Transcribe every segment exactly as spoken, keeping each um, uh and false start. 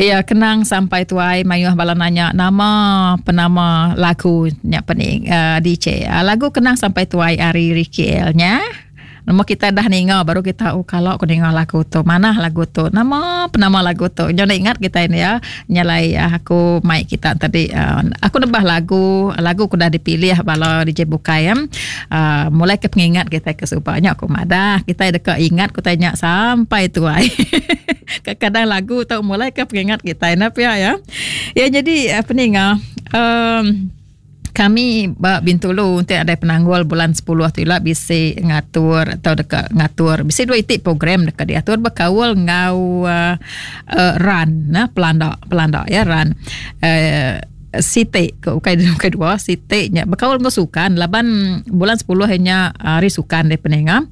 Ya, Kenang Sampai Tuai. Mayuh bala nanya nama penama lagu nya pening uh, D J. Uh, lagu Kenang Sampai Tuai ari Ricky El nya. Nama kita dah ninga baru kita oh kalau aku ninga lagu tu, mana lagu tu, nama penama lagu tu. Jangan ingat kita ini ya, nyalai aku mic kita tadi uh, aku nebah lagu, lagu aku dah dipilih bala D J bukai ya. Uh, mulai ke pengingat kita ke supanya aku madah kita dekat ingat aku tanya sampai tuai. Kadang lagu tu mulai ke pengingat kita ini ya ya. Ya jadi peninga um, kami ba Bintulu untuk ada penanggul bulan sepuluh tu lah bisi ngatur atau dekat ngatur bisi dua itik program dekat diatur berkawal ngau uh, uh, run nah pelanda pelanda ya run uh, Siti ke ukai ukai dua siti nya berkawal ngau sukan laban bulan sepuluh nya hari sukan de peninga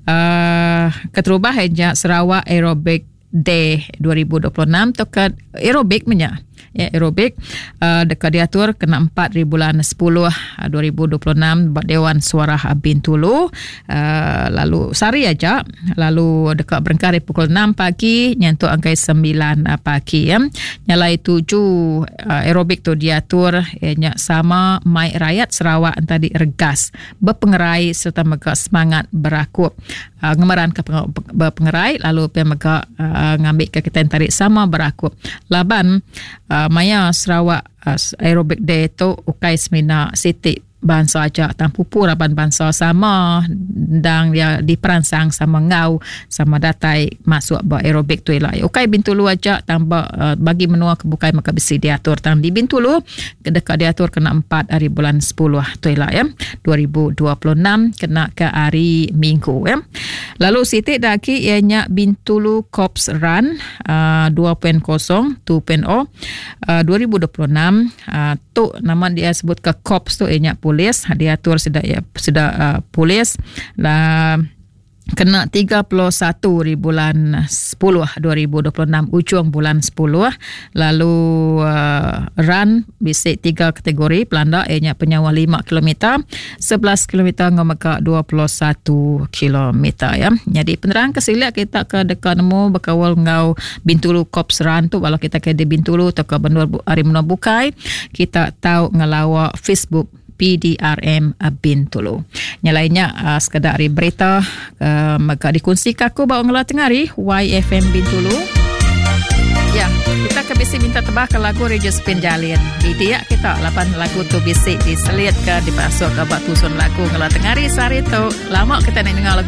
uh, keterubah nya Sarawak Aerobic Day dua ribu dua puluh enam tu ke aerobik menya ya aerobik uh, dekat diatur kena empat di bulan sepuluh dua ribu dua puluh enam buat Dewan Suara Bintulu uh, lalu sehari aja lalu dekat berengkah dari pukul enam pagi nyentuk angkai sembilan pagi ya nyalai tujuh uh, aerobik tu diatur ya, nya sama mai rakyat Sarawak tadi regas berpengerai serta mega semangat berakup uh, ngemeran ke berpengerai lalu pe mega uh, ngambil ke kita tarik sama berakup laban uh, maya Sarawak uh, Aerobic Day tu ukai semina siti bangsa aja tang pupu raban bangsa sama dang dia diperansang sama ngau sama datai masuk ba aerobik tu lah. Ukai Bintulu aja tambah uh, bagi menua ke bukai maka bisi diatur tang di Bintulu dekat diatur kena empat hari bulan sepuluh tu lah ya dua ribu dua puluh enam kena ke hari Minggu ya. Lalu siti daki ianya Bintulu Corps Run uh, dua titik kosong dua titik kosong uh, dua ribu dua puluh enam uh, tu nama dia sebut ke Corps tu ianya polis diatur sudah ya sudah uh, polis lah kena tiga puluh satu di bulan sepuluh dua ribu dua puluh enam ujung bulan sepuluh lalu uh, run bisi tiga kategori pelanda ianya penyawa lima kilometer sebelas kilometer ngomeka dua puluh satu kilometer ya. Jadi penerang kesiliak kita ke dekat nemu berkawal ngau Bintulu Corps Run tu kalau kita ke di Bintulu atau ke benua hari menua bukai kita tahu ngelawa Facebook P D R M Bintulu. Yang lainnya uh, sekadar hari berita uh, maka dikongsi aku bawa ngelah tengah hari Y F M Bintulu. Ya, kita ke bisi minta tebah ke lagu Regis Penjalin. Di dia kita lapan lagu tu bisi diselit ke dipasuk ke bak tusun lagu ngelah tengah hari sehari tu. Lama kita nak dengar lagu